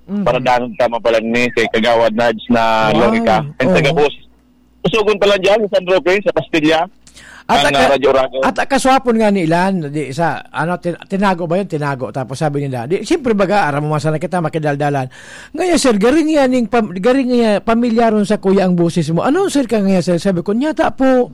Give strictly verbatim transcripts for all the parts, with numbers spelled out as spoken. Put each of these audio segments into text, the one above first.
Mm. Para dangan ta mapalagni kay Kagawad Nads na Wow. Lorica. And Oo. taga-bus. Usugon pa lang dyan sa San Roque, sa Castilla. At Ang, aka-, ah, Radyo Oragon. at akaswapon nga ni Ilan, di sa, ano, tin-, tinago ba yun? Tinago. Tapos sabi nila, di, siyempre baga, aram mo man sana kita, makidaldalan. Ngayon, sir, garing yan ning pam-, garing nga pamilyaron sa kuya ang boses mo. Ano, sir, ka ngayon, sir? Sabi ko, "Nyata po,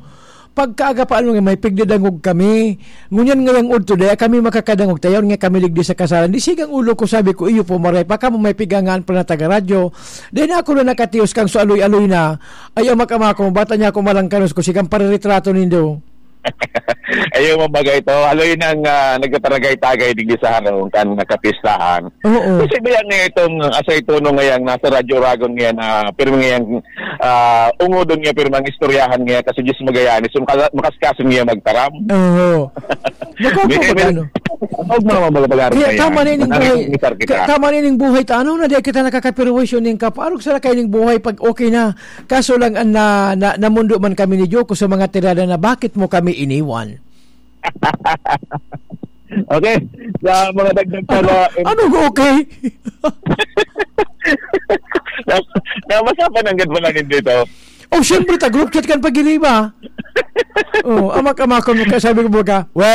pagkaaga pa, ano nga, may pigdadangog kami. Ngunyan ngayang udto, daya kami makakadangog, tayon nga kami ligdi sa kasalan." Di sigang ulo ko, sabi ko, "Iyo po, maray pa kamo, may pigangaan pa na taga-radyo." Dahil na ako na nakatios kang so aloy-aloy na, ay, amak-ama ko, bata niya ako malangkanos ko, sigang pariritrato nindo. Ayaw mo bagay to. Aloy nang, ah, nagtataragay-tagay digdi sa harong kan nakapistahan. Oo. Kasi biya nga itong asay tono ngayang nasa Radyo Oragon ngayon na pirmi ngayang, ah, ungodon nga pirmang istoryahan ngayon kasi Diyos Magallanes, yung kala-, makaskasin ngayon magtaram. Oo. Naku, Di, ako may, magano. Huwag mga mga pag-aaral Kaya na yan. tama na ining Manahimik buhay. ni Sir kita. Ka-, tama na ining buhay ta. Ano na, di kita nakakapirwisyo ning kaparog sa lakay ning buhay pag okay na. Kaso lang, an-, na, na, namundo man kami ni Joko sa mga tirada na, "Bakit mo kami iniwan?" Okay. Sa mga dagdag pa na Ano, okay? Na, na, mas mapananggad mo lang dito. Oh, syempre, ta group chat kan pag-iriba. Oh, amak-amakon mo ka, sabi ko, "Baga, we."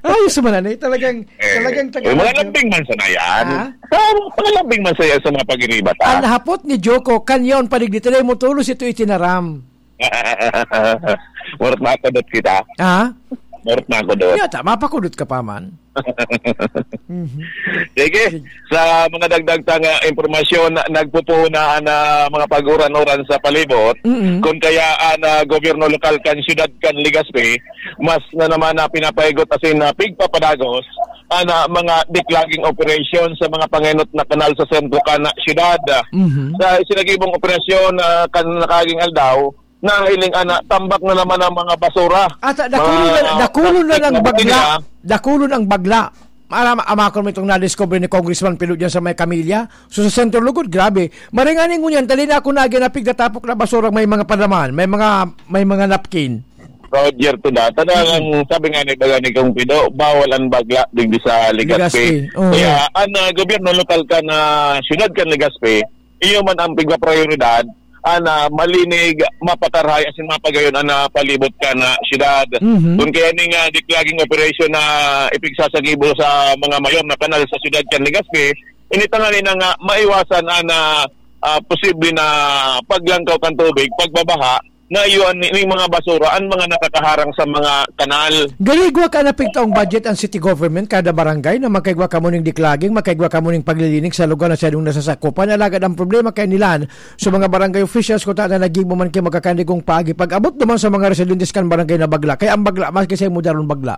Ayos man, ano, eh, talagang, Eh, talagang eh, taga- mga lambing man sana yan. Ha? Ah, mga lambing man saya sa mga pag-iriba ta. Ang hapot ni Joko, kanyaon pa digdi, tayo mo tulos ito itinaram. Murot makudot kita. Ha? Murot makudot. Yata, mapakudot ka pa man. Mhm. Sige, Sige. sa mga dagdag tang, ah, impormasyon, nagpupuhunaan na mga pag-uran-uran sa palibot. Mm-mm. Kun kaya an, ah, gobyerno lokal kan siyudad kan Legazpi, mas na naman na pinapahigot asin na pigpapadagos an, ah, mga declogging operation sa mga pangenot na kanal sa sentro kan siyudad. Mhm. Sa isinagibong operasyon, ah, kan nakaaging aldaw, nahiling ana, tambak na naman ang mga basura. At, ah, dakulon Mga na, dakulon na plastic lang na bagla. botelya. Dakulon ang bagla. Aram, amakon mo itong nadiscover ni Congressman Pilo dyan sa may Camilla. So, sa Centro Lugod, grabe. Maring ani ngunyan, dali na ako na ginapig na tapok na basura, may mga palaman, may mga, may mga napkin. Roger to that. Talagang Mm. sabi nga ni, baga ni Kong Pido, bawal ang bagla digdi sa Legazpi. Legazpi, oo. Kaya, ang, ah, gobyerno lokal kan, ah, siyudad kan Legazpi, iyo man ang pigpaprioridad, ana, malinig, mapakarahay, asin mapagayon ana palibot kan, ah, siyudad. Mhm. Kun kaya ning, ah, declogging operation na ipigsasagibo sa mga mayor na kanal sa siyudad kan Legazpi, ini tanganing na nga maiwasan ana, ah, posible na paglangkaw kan tubig, pagbabaha, na iyo an, ning mga basura, an mga nakakaharang sa mga kanal. Gali igwa ka na pigtaong budget ang city government kada barangay na magkaigwa kamo ning declogging, magkaigwa kamo ning paglilinig sa lugar na sadong nasasakupan. Alagad ang problema kay nilan, sa mga barangay officials, kuta na naggibo man kay magkakanigong paagi pag-abot naman sa mga residentes kan barangay na bagla. Kaya ang bagla, maski sa imo daron bagla.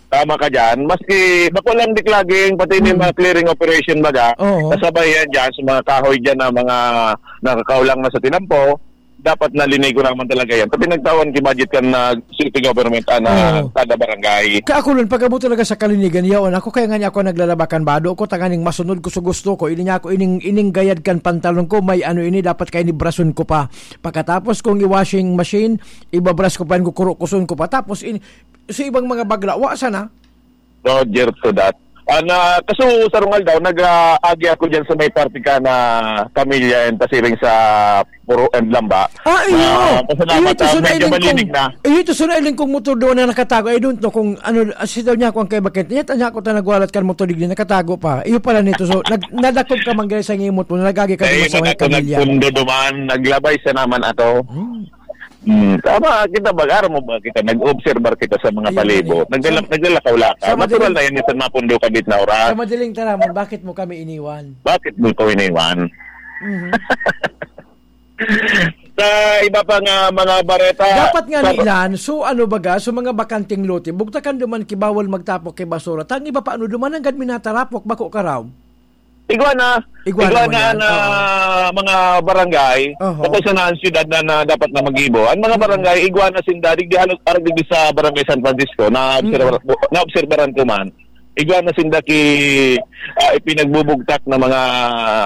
Tama ka dyan. Maski bako lang declogging, pati may Mm. mga clearing operation baga, Oo. kasabay yan dyan sa mga kahoy dyan na mga nakakaulang na sa tinampo, dapat nalinigo naman talaga yan. Pati nagtawan ki budget kan na city government, ah, na Oo. kada barangay. Kaya ako nun, pag-abot talaga sa kalinigan, yaon ako, kaya nga niya ako naglalabakan bado ko, tanganing masunod ko sa gusto ko, ini niya ako, ining, ining gayad kan pantalon ko, may ano ini, dapat kayo ni brason ko pa. Pagkatapos kong i-washing machine, ibabras ko pa, yan, kukurukuson ko pa. Tapos, in, sa ibang mga bagla, wa sana. Roger to that. Ah, na, kaso sarong aldaw, nag-aagi ako dyan sa may parte ka na pamilya and pasiring sa Puro and Lamba. Ah, iyo. Ah, pasalamat, Iyo, ito ah, sa medyo nailing malinig kong, na. iyo, ito sa nailing kong motor doon na nakatago. I don't know kung ano, ah, si daw niya ako ang kay bakit. Niya, tanya ko ta nagwalat kan motor, digdi nakatago pa. Iyo pala nito. So, nag-, nadakop ka man, guys, ang imot mo, nagagi ka Ay, duman sa mga ako pamilya. nagpundo duman, naglabay sa naman ato. Hmm. Hmm, tama, kita ba, aram mo ba kita, nag-obserbar kita sa mga Ayun, palibot. eh. Nagdala-, So, naglalakaw-lakaw. sa Natural madaling na yan, minsan mapundo ka, bit na oras. Sa madaling taramon, bakit mo kami iniwan? Bakit mo ko iniwan? Mhm. Sa iba pa nga mga bareta, Dapat nga sa ni Ilan, so ano baga, so mga bakanteng lote, bugtakan duman ki bawal magtapok ki basura. Tang iba pa, ano, duman nanggad minatarapok, bako ka raw? Igwa na. Igwa na Igwa na ngunyan, na oo. mga barangay, Oho. tapos na ang siyudad na, na dapat na mag-ibo. Ang mga Mm. barangay, igwa na sinda, digdi halos, arag digdi sa Barangay San Francisco, na obserbar-, Mm. na obserbaran ko man. Igwa na sinda ki, ah, ipinagbubugtak na mga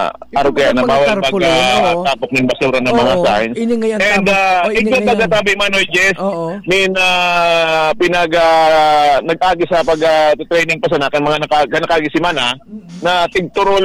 Ito arog kaya mga na bawal tarpaulin, mag, ah, oo. tapok ng basura ng mga Oo. signs. Ini ngayon And, tama. ah, Oh, ini ikaw ngayon. pagkatabi, Manoy Jess, Oo. min, ah, pinag, ah, nag-agi sa pag, ah, training pa sa nakan, mga naka-, nakaagi si Mana, Mm. na tigturol